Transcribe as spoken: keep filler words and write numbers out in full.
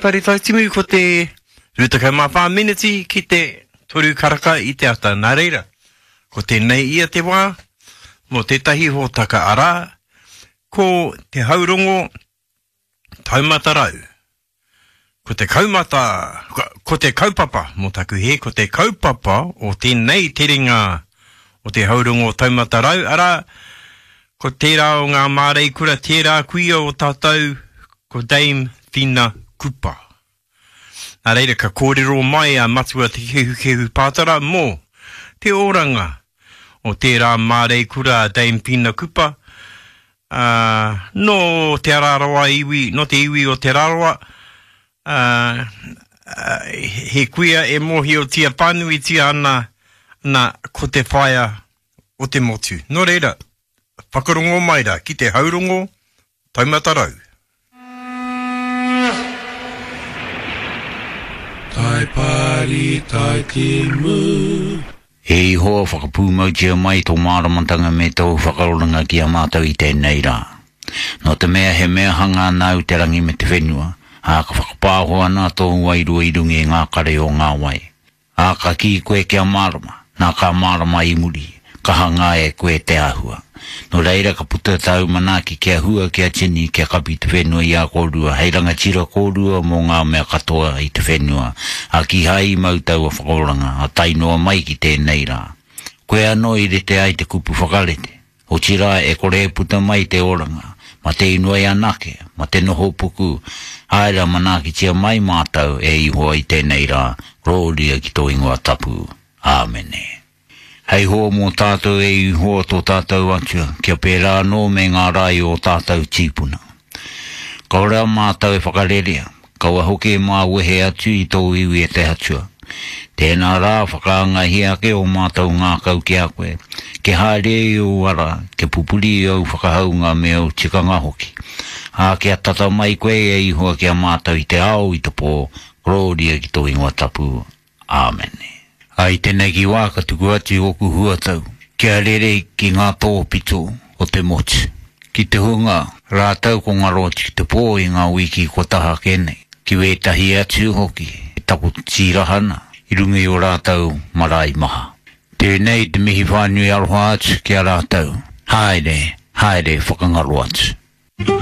Whare Tautimu, ko te rua tekau mā whā meneti ki te toru karaka i te ata. Nā reira, ko tēnei ia te wā mō tētahi hōtaka arā, ko te haurongo taumata rau. Ko te kaumata, ko te kaupapa, mō taku hē, ko te kaupapa o tēnei terenga o te haurongo taumata rau, arā, ko tērā o ngā māreikura, tērā kuia o tātou, ko Dame Whina Kupa. Nā reira, ka kōrero mai a Matua Te Kehukehu Pātara mō te oranga o tērā māreikura a Dame Whina Kupa, ā, nō Te Araroa iwi, nō te iwi o Te Rarawa, ā, he kuia e mōhiotia whānuitia ana, nā, ko te whaea o te motu. Nō reira, whakarongo mai rā ki te haurongo taumata rau. Tai pari, tai timu. E Ihowa, whakapūmautia mai tō māramatanga me tōu whakaoranga ki a mātou i tēnei rā. Nō te mea he mea hanga nāu te rangi me te whenua, ā, ka whakapāho ana tōu wairua i runga i ngā kare o ngā wai. Ā, ka kī koe kia mārama, nā ka mārama i muri, ka hangā e koe te āhua. Nō reira ka puta tāu manaaki kia hua, kia tini, kia kapi te whenua i a kōrua, hei rangatira kōrua mō ngā mea katoa i te whenua, ā, kīhai i mau taua whakaoranga, ā tae noa mai ki tēnei rā. Koe anō i rite ai te kupu whakarite, otirā e kore e puta mai te oranga, ma te inoi anake, ma te noho puku, āe rā manaakitia mai mātou e Ihowa i tēnei rā, korōria ki tō ingoa tapu. Āmene. Hei hoa mō tātou e Ihowa tō tātou Atua, kia pērā anō me ngā rā i ō tātou tīpuna. Kaore a mātou e whakarerea, kaua hoki e māwehe atu i tōu iwi e te Atua. Tēnā rā, whakaangahia ake ō mātou ngākau ki a koe, kia haere i ōu ara, kia pupuri i ōu whakahaunga me ōu tikanga hoki. Ā, kia tata mai koe e Ihowa ki a mātou i te ao, i te pō, korōria ki tō ingoa tapu. Āmene. Ā, i tēnei wā ka tuku atu i ōku huatau kia rere ki ngā tōpito o te motu, ki te hunga rātou ko ngaro atu ki te pō i ngā wiki kua taha ake nei, ki wētahi atu hoki e takoto tīraha ana i runga i ō rātou marae maha. Tēnei te mihi whānui aroha atu ki a rātou, haere, haere whakangaro atu.